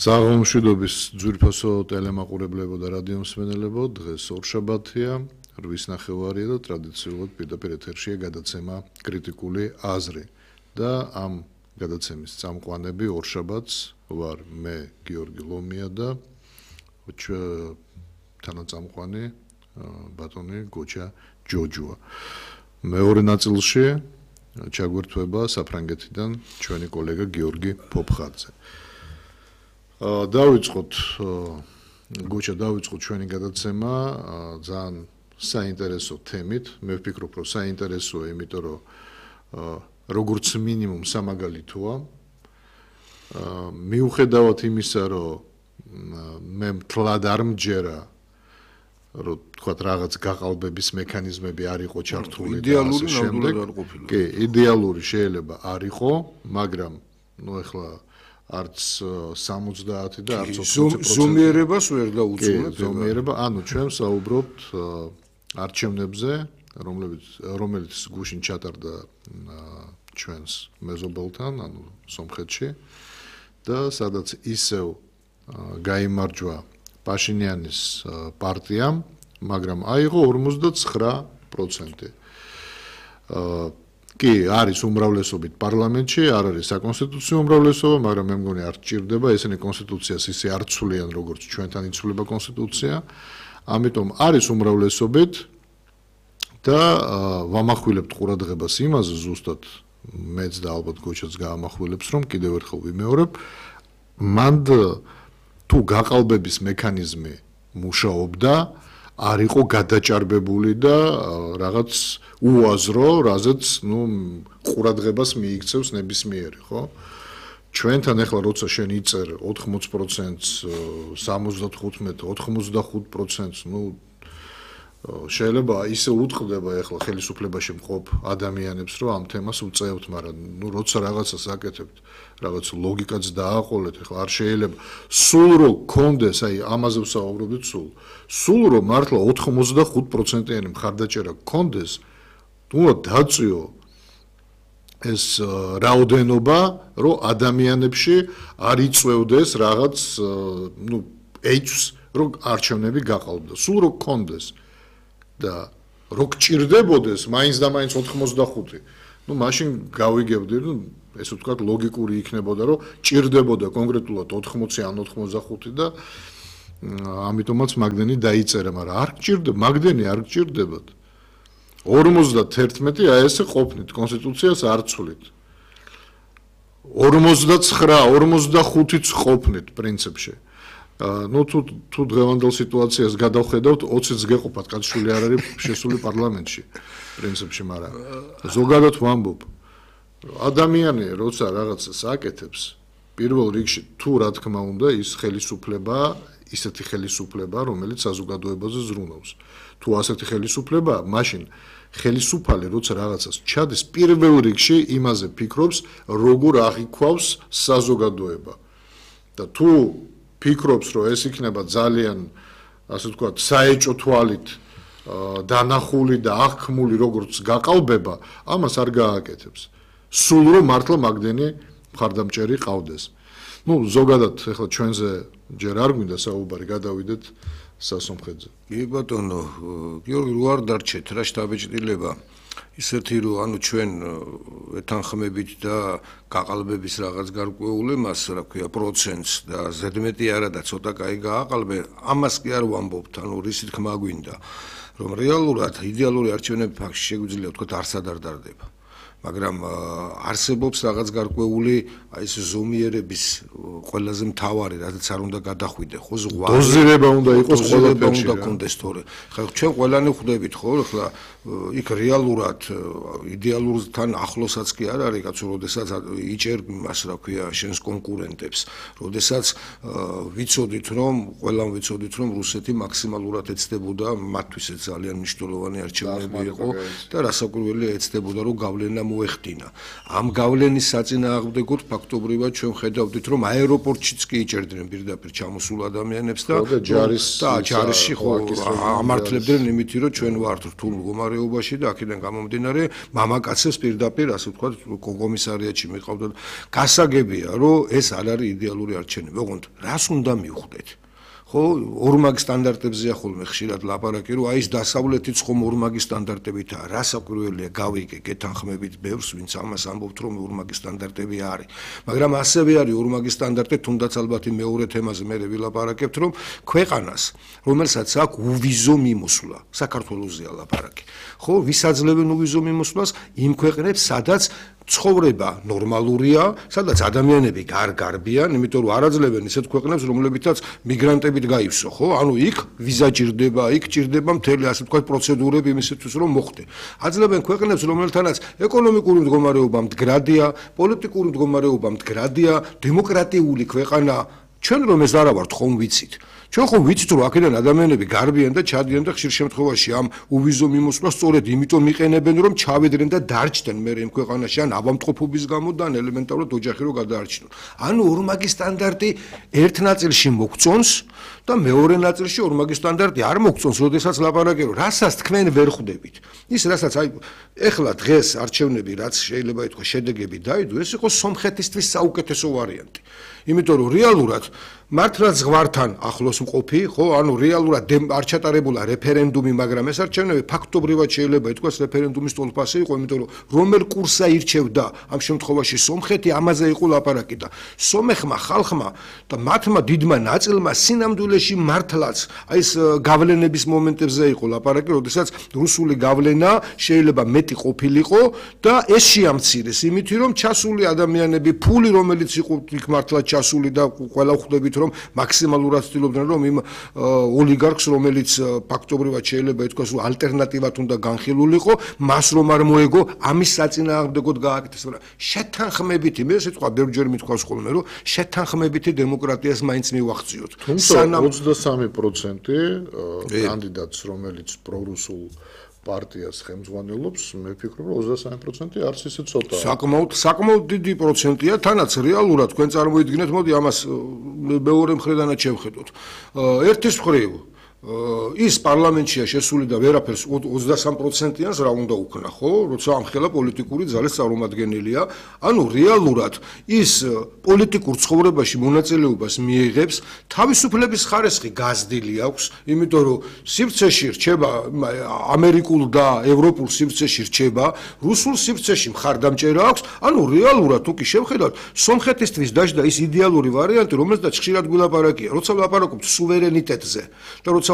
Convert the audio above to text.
Საღამოშვიდობის ძვირფასო ტელემაყურებლებო და რადიომსმენელებო, დღეს ორშაბათია, 8:30 და ტრადიციულად პირდაპირ ეთერშია გადაცემა კრიტიკული აზრი. და ამ გადაცემის წამყვანები ორშაბათს ვარ მე გიორგი ლომია და თანაწამყვანი ბატონი გოჩა ჯოჯოა. მეორე ნაწილში ჩაგვერთვება საფრანგეთიდან ჩვენი კოლეგა გიორგი ფოფხაძე. დავიწყოთ ჩვენი გადაცემა ძალიან საინტერესო თემით. მე ვფიქრობ, რომ საინტერესოა, იმიტომ რომ როგორც მინიმუმ სამაგალითოა. მიუხედავად იმისა, რომ მე მთლად არ მჯერა, რომ თქვათ რაღაც გაყალბების მექანიზმები არ იყო ჩართული და ასე შემდეგ. კი, იდეალური შეიძლება არ იყო, მაგრამ ეხლა არც 70 და არც 80% ზომიერებას ვერ დაუწუნებთ. ზომიერება, ანუ ჩვენ საუბრობთ არჩევნებზე, რომელიც გუშინ ჩატარდა ჩვენს მეზობელთან, ანუ სომხეთში და სადაც ისევ გაიმარჯვა პაშინიანის პარტიამ, მაგრამ აიღო 59%. კი, არის უმრავლესობით პარლამენტში, არ არის საკონსტიტუციო უმრავლესობა, მაგრამ მე მგონი არ ჭირდება, ესენი კონსტიტუციას ისე არ ცვლიან, როგორც ჩვენთან იცვლება კონსტიტუცია. ამიტომ არის უმრავლესობით და ვამახვილებთ ყურადღებას იმაზე ზუსტად მეც და ალბათ გოჩაც გაამახვილებს, რომ კიდევ ერთხელ ვიმეორებ, მანდ თუ გაყალბების მექანიზმი მუშაობდა, არ იყო გადაჭარბებული და რაღაც უაზრო, რაზეც ყურადღებას მიიქცევს ნებისმიერი, ხო? ჩვენთან ახლა როცა შენ იწერ 80%-ს, 75, 85%-ს, შეიძლება ისე უთხრდება ახლა ხელისუფლებაში მყოფ ადამიანებს, რომ ამ თემას უწევთ, მაგრამ როცა რაღაცას აკეთებთ, რაღაც ლოგიკაც დააყოლეთ, ახლა არ შეიძლება სულ რომ კონდეს, აი ამაზე ვსაუბრობთ სულ რომ მართლა 85%-იანი მხარდაჭერა კონდეს, უნდა დაწიო ეს რაოდენობა, რომ ადამიანებში არ იწევდეს რაღაც ეჭვს, რომ არჩევნები გაყალბდა, სულ რომ კონდეს და რო გჭირდებოდეს მაინც და მაინც 85. მაშინ გავიგებდი, რომ ესე ვთქვათ, ლოგიკური იქნებოდა, რომ ჭირდებოდა კონკრეტულად 80 ან 85 და ამიტომაც მაგდენი დაიწერა, მაგრამ არ გჭირდება, მაგდენი არ გჭირდებათ. 51 აი ესე ყოფნით, კონსტიტუციას არ ცვლით. 49-55-იც ყოფნით პრინციპში. თუ დღევანდელ სიტუაციას გადავხედავთ, 20-ს გეყოფათ, კაცშვილი არ არის შესული პარლამენტში, პრინციპში, მაგრამ ზოგადად ვამბობ, ადამიანი როცა რაღაცას აკეთებს, პირველ რიგში თუ რა თქმა უნდა ის ხელისუფლება, ისეთი ხელისუფლება, რომელიც საზოგადოებაზე ზრუნავს. თუ ასეთი ხელისუფლება, მაშინ ხელისუფალი როცა რაღაცას ჩადის, პირველ რიგში იმაზე ფიქრობს, როგორ აღიქვავს საზოგადოება. და თუ ფიქრობს, რომ ეს იქნება ძალიან, ასე ვთქვათ, საეჭო თვალით დანახული და აღქმული როგორც გაყალბება, ამას არ გააკეთებს. სულ რომ მართლა მაგდენი მხარდამჭერი ყავდეს. ზოგადად ახლა ჩვენზე ჯერ არ გვინდა საუბარი, გადავიდეთ სასომხეთზე. კი ბატონო, გიორგი, რო არ დარჩეთ რა შთაბეჭდილება. ისეთი რომ ანუ ჩვენ ეთანხმებით და გაყალბების რაღაც გარკვეული მას რა ქვია პროცენტს და ზედმეტი არა და ცოტა კაი გააყალბე, ამას კი არ ვამბობთ, ანუ რისი თქმა გვინდა, რომ რეალურად იდეალური არჩევნები ფაქტში შეგვიძლია ვთქვათ არც არ დარდება. მაგრამ არსებობს რაღაც გარკვეული აი ეს ზომიერების ყველაზე მთავარი, რადგან არ უნდა გადახვიდე, ხო, ზღვარი. დოზირება უნდა იყოს ყველაფერში. უნდა კონდეს თორე. ხა ჩვენ ყველანი ხვდებით, ხო, ხლა იქ რეალურად იდეალურთან ახლოსაც კი არ არის, კაცო, როდესაც იჭერ მას რა ქვია, შენს კონკურენტებს, როდესაც ვიცოდით, რომ რუსეთი მაქსიმალურად ეცდებოდა, მათთვის ეს ძალიან მნიშვნელოვანი არჩევნები იყო და რასაკვირველია ეცდებოდა, რომ გავლენა მოეხდინა. ამ გავლენის საწინააღმდეგოდ ფაქტობრივად ჩვენ ხედავდით, რომ აეროპორტშიც კი იჭერდნენ პირდაპირ ჩამოსულ ადამიანებს და ჯარისში ხო ამართლებდნენ იმით, რომ ჩვენ ვართ რთულ მდგომარეობაში მდგომარეობაში და აქედან გამომდინარე მამაკაცებს პირდაპირ ასე ვთქვათ კომისარიატში მიყავდა. გასაგებია, რომ ეს არ არის იდეალური არჩევნები. ოღონდ რას უნდა მივხვდეთ? ხო, ორმაგი სტანდარტებზეა ხოლმე ხშირად ლაპარაკი, რომ აი ეს დასავლეთიც ხომ ორმაგი სტანდარტებითაა. რასაკვირველია, გავიგე, გეთანხმებით ბევრს, ვინც ამას ამბობთ, რომ ორმაგი სტანდარტები არის. მაგრამ ასევე არის ორმაგი სტანდარტი, თუნდაც ალბათ მეორე თემაზე მე ვილაპარაკებთ, რომ ქვეყანას, რომელსაც აქვს უვიზო მიმოსვლა, საქართველოსზეა ლაპარაკი. ხო, ვისაძლევენ უვიზო მიმოსვლას იმ ქვეყნებს, სადაც ცხოვრება ნორმალურია, სადაც ადამიანები გარგარბიან, იმიტომ რომ არაძლევენ ისეთ ქვეყნებს, რომლებითაც მიგრანტებით გაივსო, ხო? ანუ იქ ვიზა ჭირდება, იქ ჭირდება მთელი ასე ვთქვათ პროცედურები იმისათვის, რომ მოხდე. აძლევენ ქვეყნებს, რომელთანაც ეკონომიკური მდგომარეობა მდგრადია, პოლიტიკური მდგომარეობა მდგრადია, დემოკრატიული ქვეყანა, ჩვენ რომ ეს არა ვართ ხომ ვიცით. ჩვენ ხომ ვიცით რომ აქედან ადამიანები გარბიან და ჩადიან და ხშირ შემთხვევაში ამ უვიზო მიმოსვლას სწორედ იმიტომ იყენებენ რომ ჩავედრენ და დარჩდნენ მე იმ ქვეყანაში ან ავადმყოფობის გამო და ან ელემენტარულად ოჯახი რო გადაარჩინონ. ანუ ორმაგი სტანდარტი ერთ ნაწილში მოგწონს და მეორე ნაწილში ორმაგი სტანდარტი არ მოგწონს, როდესაც ლაპარაკი რომ რასაც თქვენ ვერ ხვდებით. ის რასაც აი ეხლა დღეს არჩევნები რაც შეიძლება ითქვას შედეგები დაიდო, ეს იყო სომხეთისთვის საუკეთესო ვარიანტი. იმიტომ რომ რეალურად მართლაც ზღვართან ახლოს მყოფი, ხო, ანუ რეალურად არ ჩატარებულა რეფერენდუმი, მაგრამ ეს არჩევნები ფაქტობრივად შეიძლება ითქვას რეფერენდუმის ტოლფასი იყო, იმიტომ რომ რომელ კურსს ირჩევდა ამ შემთხვევაში სომხეთი, ამაზე იყო ლაპარაკი და სომეხმა ხალხმა და მათმა დიდმა ნაწილმა სინამდვილეში მართლაც აი ეს გავლენების მომენტებზე იყო ლაპარაკი, როდესაც რუსული გავლენა შეიძლება მეტი ყოფილიყო და ეს შეამცირეს იმითი, რომ ჩასული ადამიანები, ფული რომელიც იყო იქ მართლაც ჩასული და ყველა ხვდებით რომ მაქსიმალურად ცდილობდნენ რომ იმ ოლიგარქს რომელიც ფაქტობრივად შეიძლება ითქვას რომ ალტერნატივად უნდა განხილულიყო მას რომ არ მოეგო ამის საწინააღმდეგოდ გააკეთეს მაგრამ შეთანხმებითი მე სიტყვა ბევრჯერ მithქვას ხოლმე რომ შეთანხმებითი დემოკრატიას მაინც მივახციოთ სანამ 23% კანდიდატს რომელიც პრორუსულ პარტიას ხელმძღვანელობს, მე ვფიქრობ, რომ 23% არც ისე ცოტაა. საკმაოდ დიდი პროცენტია, თანაც რეალურად თქვენ წარმოიდგინეთ, მოდი ამას მეორე მხრიდანაც შევხედოთ. ერთის მხრივ ის პარლამენტშია შესული და ვერაფერს 23%-იანს რა უნდა უქნა, ხო? როცა ამხელა პოლიტიკური ძალის წარმომადგენელია, ანუ რეალურად ის პოლიტიკურ ცხოვრებაში მონაწილეობას მიიღებს, თავისუფლების ხარისხი გაზრდილი აქვს, იმიტომ რომ სივრცეში რჩება ამერიკულ და ევროპულ სივრცეში რჩება, რუსულ სივრცეში მხარდამჭერა აქვს, ანუ რეალურად თუ კი შევხედავთ, სომხეთისთვის დაждდა ის იდეალური ვარიანტი, რომელზეც ხშირად გვილაპარაკია, როცა ვლაპარაკობთ სუვერენიტეტზე და როცა